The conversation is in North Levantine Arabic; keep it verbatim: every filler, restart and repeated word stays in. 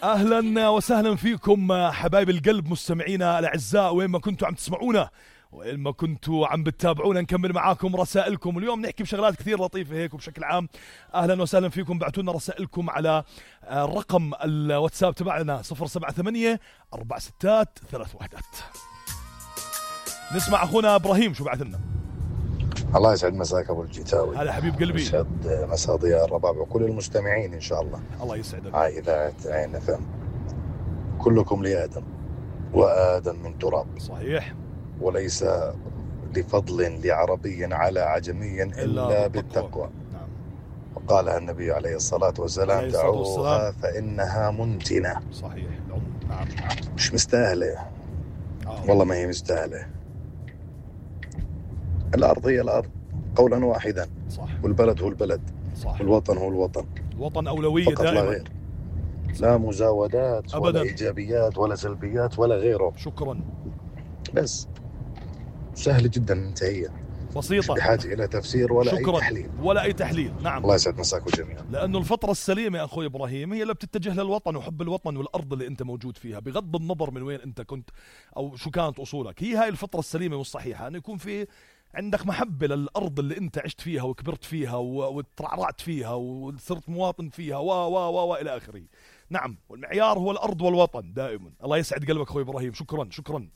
أهلا وسهلا فيكم حبايب القلب مستمعينا الأعزاء، وين ما كنتوا عم تسمعونا وين ما كنتوا عم بتتابعونا. نكمل معاكم رسائلكم اليوم، نحكي بشغلات كثير لطيفة هيك وبشكل عام. أهلا وسهلا فيكم، بعتوا لنا رسائلكم على الرقم الواتساب تبعنا صفر سبعة ثمانية أربع ستات ثلاث وحدات. نسمع أخونا إبراهيم شو بعث لنا. الله يسعد مساك أبو الجيتاوي. هلا حبيب قلبي. يسعد مساء ضياء الرباب وكل المستمعين إن شاء الله. الله يسعدك. هاي إذاعة عين اف ام. كلكم لآدم وآدم من تراب. صحيح. وليس لفضل لعربي على عجمي إلا, إلا بالتقوى. نعم. وقالها النبي عليه الصلاة والسلام: دعوها فإنها منتنة. صحيح. نعم. مش مستاهلة. آه. والله ما هي مستاهلة. الأرض هي الأرض قولا واحدا. صح. والبلد هو البلد. صح. والوطن هو الوطن. الوطن أولوية دائما. لا غير. لا مزاودات أبداً. ولا إيجابيات ولا سلبيات ولا غيره. شكرا. بس سهل جدا منتهية، بسيطة، مش بحاجة إلى تفسير ولا شكرا. أي تحليل ولا أي تحليل. نعم. الله يسعد مساكم جميعا. لأنه الفطرة السليمة يا أخوي إبراهيم هي اللي بتتجه للوطن وحب الوطن والأرض اللي أنت موجود فيها، بغض النظر من وين أنت كنت أو شو كانت أصولك. هي هاي الفطرة السليمة والصحيحة، أن يكون في عندك محبة للأرض اللي أنت عشت فيها وكبرت فيها وترعرعت فيها وصرت مواطن فيها و و و و إلى آخره. نعم، والمعيار هو الأرض والوطن دائما. الله يسعد قلبك أخوي إبراهيم، شكرا شكرا.